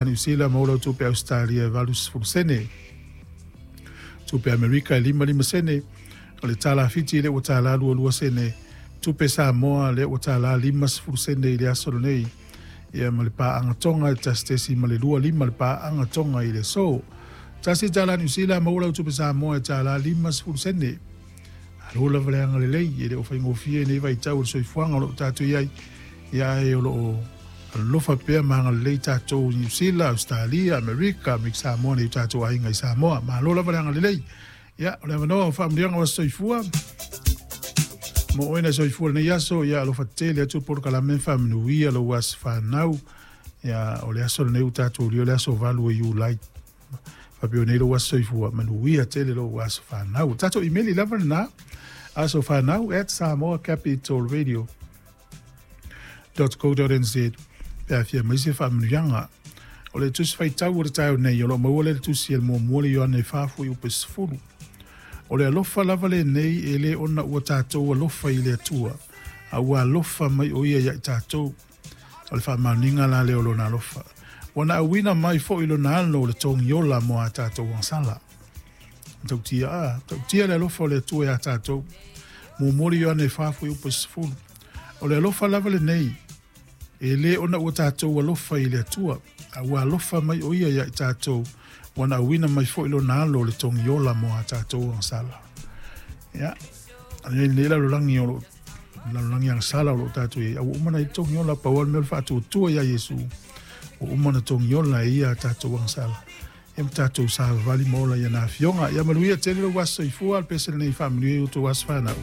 Niu Sila maua lau tupe Ausetalia e 80 sene. Tupe Amerika e 55 sene. O le tala Fiti lea ua tala 22 sene. Tupe Samoa lea ua tala 50 sene i le aso lenei. Ia ma le paaga Tonga e 1.25 le paaga Tonga i le aso. $1 Niu Sila maua lau tupe Samoa e tala 50 sene. Malo lava le agalelei, e le o faigofie nei vaitau o le soifuaga o lo o tatou i ai, ia ae o lo o alofa pea ma agalelei tatou i Niu Sila, Ausetalia, Amerika, me Samoa nei o tatou aiga i Samoa. Malo lava le agalelei. Ia, o le avanoa o faamanuiaga o aso soifua. Mo oe na soifua lenei aso, ia alofa tele atu le polokalame faamanuia lou aso fanau. Ia, o le aso lenei ua tatou ulia o le aso 8 o Iulai. Faapea nei lou aso soifua, manuia tele lou aso fanau. Tatou imeli lava lena, asofanau@samoacapitalradio.co.nz pe a fia mai se faamanuiaga. O le tusi faitau o le taeao nei, o lo o maua lea i le tusi a le muamua le Ioane e 4:10. O le alofa lava lenei e le ona ua tatou alofa i le Atua, a ua alofa mai o ia ia i tatou. O le faamaoniga la lea o lona alofa. Ua na auina mai foi lona alo o le togiola mo a tatou agasala. Matautia, a, matautia le alofa o le Atua ia tatou. Muamua le Ioane 4:10. O le alofa lava lenei, e le ona ua tatou alofa i le Atua, a ua alofa mai o ia ia i tatou, ua na auina mai foi lona alo o le togiola mo a tatou agasala. Ia, nei lalolagi o lo lalolagi agasala o lo o tatou i ai, a ua uma ona i ai le togiola, pau lava le mea o le faatuatua ia Iesu, ua uma ona togiola e ia a tatou agasala. Ia ma tatou savavali ma ola i ana afioga. Ia manuia tele lou aso soifua, le pese lenei faamanuia i outou aso fanau.